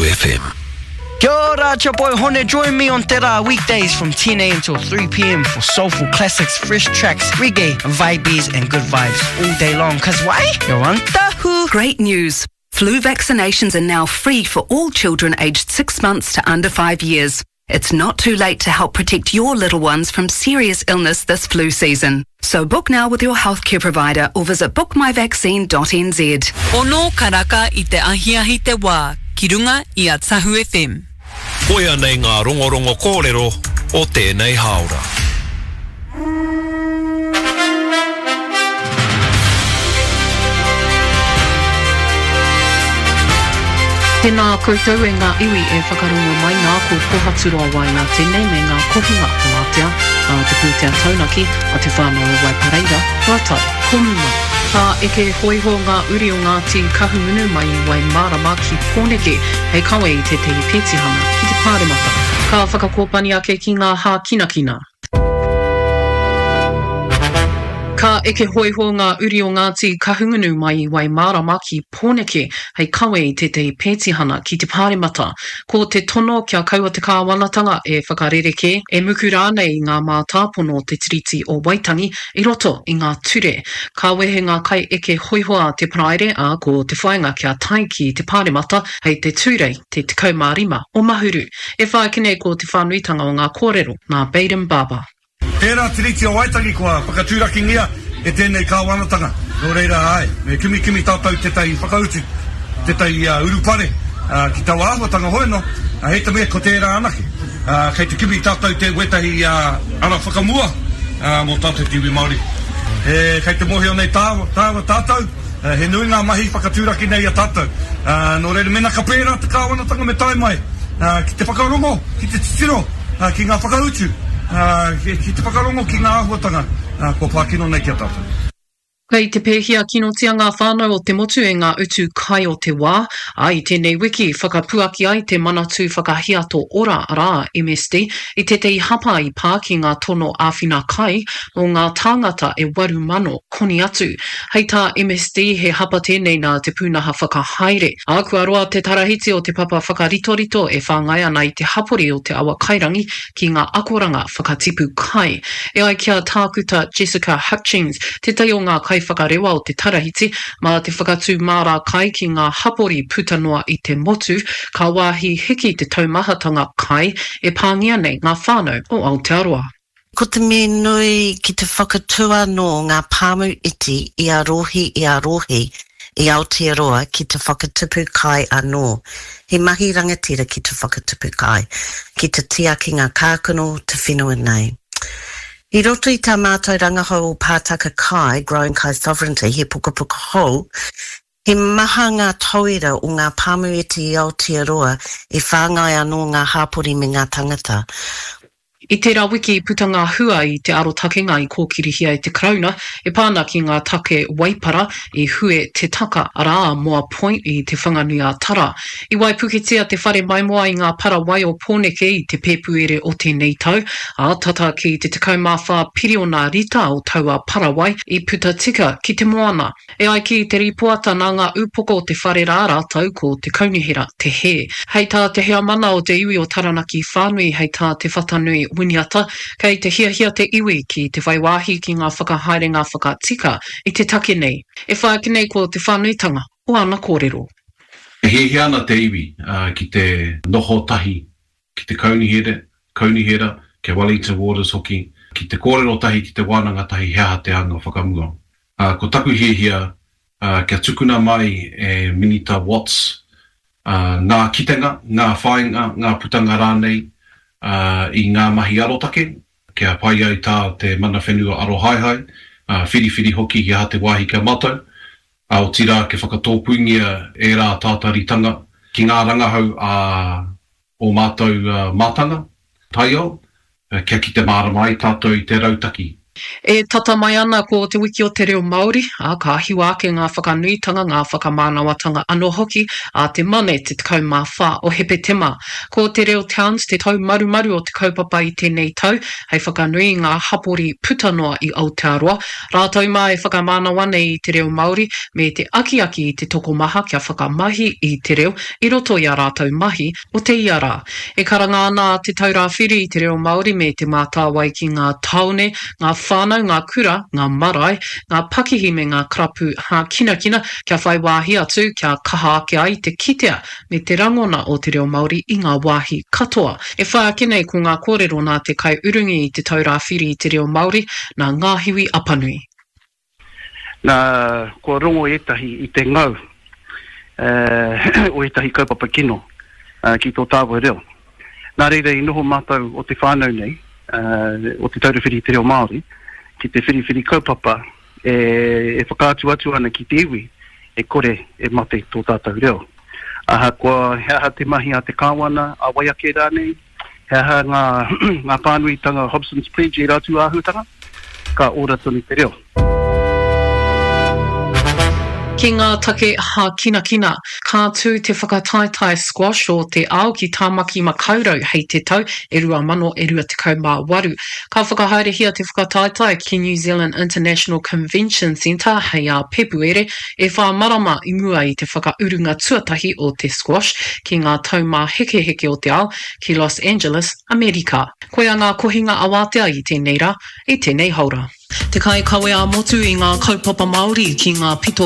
FM. Kia ora, it's your boy Hone. Join me on Te Rā weekdays from 10am till 3pm for soulful classics, fresh tracks, reggae, vibes and good vibes all day long. Cause why? You're on Tahu. Great news. Flu vaccinations are now free for all children aged 6 months to under 5 years. It's not too late to help protect your little ones from serious illness this flu season. So book now with your healthcare provider or visit bookmyvaccine.nz. Ono karaka i te ahiahi te wā ki runga i a Tahu FM. Koia nei ngā rongorongo kōrero o tēnei hāora. Tēnā koutou e ngā iwi e whakarongo mai nā ko Pohaturoa Waenga tēnei me ngā kohinga o Ātea, a te pūtea taunaki, a te whānau o Waipareira, rātou ko Mumai. Ka eke hōiho ngā uri o Ngāti Kahungunu mai i Waimārama ki Pōneke hei kawe i tētehi pētihana ki te Pāremata. Ka whakakōpani ake ki ngā hākinakina. Ka eke hōiho ngā uri o Ngāti Kahungunu mai i Waimārama ki Pōneke hei kawe i tētehi pētihana ki te Pāremata. Ko te tono kia kaua te kāwanatanga e whakarerekē, e muku rānei i ngā mātāpono o te Tiriti o Waitangi i roto i ngā ture. Ka wehe ngā kaieke hōiho a te Paraire, ā, ko te whāinga kia tae ki te Pāremata hei te Tūrei, te 15 o Mahuru. E whai ake nei ko te whānuitanga o ngā kōrero nā Bayden Barber. Tērā Tiriti o Waitangi kua whakatūrakingia e tēnei kāwanatanga, nō reira āe, me kimikimi tātou tētahi whakautu, tētahi urupare ki taua āhuatanga hoi anō, hei te mea ko tērā anake. Kei te kimi tātou te wētahi ara whakamua mō tātou te iwi Māori. Kei te mōhio nei tāua tātou, He nui ngā mahi whakatūraki nei i a tātou. Nō reira, mēnā ka pērā te kāwanatanga me tae mai ki te whakarongo, ki te titiro ki ngā whakautu, ki te whakarongo ki ngā āhuatanga kua pā kino nei ki a tātou. Kei te pēhia kinotia ngā whānau o te motu e ngā utu kai o te wā, ā, i tēnei wiki whakapuaki ai te Manatū Whakahiato Ora, arā, MSD, i tētehi hapa i pā ki ngā tono āwhina kai mō ngā tāngata e 8,000 koni atu. Hei tā MSD, he hapa tēnei nā te pūnaha whakahaere, ā, kua roa te tarahiti o te papa whakaritorito e whāngai ana i te hapori o Te Awakairangi ki ngā akoranga whakatipu kai. E ai ki a Tākuta Jessica Hutchings, tētahi o ngā kaiwhakarewa o te tarahiti, mā te whakatū māra kai ki ngā hapori puta noa i te motu, ka wāhi hiki te taumahatanga kai e pāngia nei ngā whānau o Aotearoa. Ko te mea nui ki te whakatū anō ngā pāmu iti i a rohe i a rohe i Aotearoa ki te whakatupu kai anō. He mahi rangatira ki te whakatupu kai, ki te tiaki ngā kākano te whenua nei. I roto i tā mātou rangahau o Pātaka Kai, Growing Kai Sovereignty, he pukapuka hou, He maha ngā tauira o ngā pāmu iti i Aotearoa e whāngai anō ngā hāpori me ngā tangata. I tērā wiki i puta ngā hua i te arotakenga i kōkirihia e te Karauna e pā ana ki ngā take waipara i hue te taka, arā, a Moa Point i Te Whanganui-a-Tara. I waipuketia te whare maimoa i ngā para wai o Pōneke i te Pēpuere o tēnei tau, ā, tata ki te 14 piriona rita o taua para wai i puta tika ki te moana. E ai ki te rīpoata nā ngā ūpoko o te whare rā rātou ko te kaunihera te hē. Hei tā te heamana o te iwi o Taranaki whānui hei tā Te Whatanui Winiata, kei te hiahia te iwi ki te whai wāhi ki ngā whakahaerenga whakatika i te take nei. E whai ake nei ko te whānuitanga o ana kōrero. E hiahia ana te iwi ki te noho tahi ki te kaunihera, kaunihera, ki a Wellington Waters hoki, ki te kōrero tahi, ki te wānanga tahi he aha te anga whakamua. Ā, ko taku hiahia, ā, kia tukuna mai e Minita Watts, ā, ngā kitenga, ngā whāinga, ngā putanga rānei, ā, i ngā mahi arotake, kia pai ai tā te mana whenua arohaehae, ā, whiriwhiri hoki he aha te wāhi ki a mātou, ā, otirā kia whakatōpūngia ērā tātaritanga ki ngā rangahau a ō mātou mātanga taiao, kia kite mārama ai tātou i te rautaki. E tata mai ana ko Te Wiki o te Reo Māori, ā, ka hiwa ake ngā whakanuitanga, ngā whakamānawatanga anō hoki a te Mane te 14 o Hepetema. Ko Te Reo Towns te taumarumaru o te kaupapa i tēnei tau, hei whakanui i ngā hapori puta noa i Aotearoa, rātou mā e whakamānawa nei i te reo Māori me te akiaki i te tokomaha kia whakamahi i te reo i roto i ā rātou mahi o te ia rā. E karanga ana a Te Taura Whiri i te reo Māori me Te Mātāwai ki ngā tāone, ngā whānau, ngā kura, ngā marae, ngā pakihi me ngā karapu hākinakina kia whai wāhi atu, kia kaha ake ai te kitea me te rangona o te reo Māori i ngā wāhi katoa. E whai ake nei ko ngā kōrero nā te kaiurungi i Te Taura Whiri i te Reo Māori, nā Ngāhiwi Apanui. Nā, kua rongo ētahi i te ngau o ētahi kaupapa kino ki tō tāua reo. Nā reira i noho mātou o te whānau nei, o Te Taura Whiri i te Reo Māori, ki te whiriwhiri kaupapa e whakaatu atu ana ki te iwi e kore e mate tō tātou reo. Ahakoa he aha te mahi a te kāwana, a wai ake rānei, He aha ngā, ngā pānuitanga Hobson's Pledge ērā tū āhuatanga? Ka ora tonu te reo. Ki ngā take hākinakina, ka tū te whakataetae squash o te ao ki Tāmaki Makaurau hei te tau e 2028. Ka whakahaerehia te whakataetae ki New Zealand International Convention Centre hei ā Pepuere, e whā marama i mua i te whakaurunga tuatahi o te squash ki ngā taumāhekeheke o te ao ki Los Angeles, Amerika. Koia ngā kohinga awatea i tēnei rā, i tēnei haora. Te kaikawe ā-motu i ngā kaupapa Māori ki ngā pito.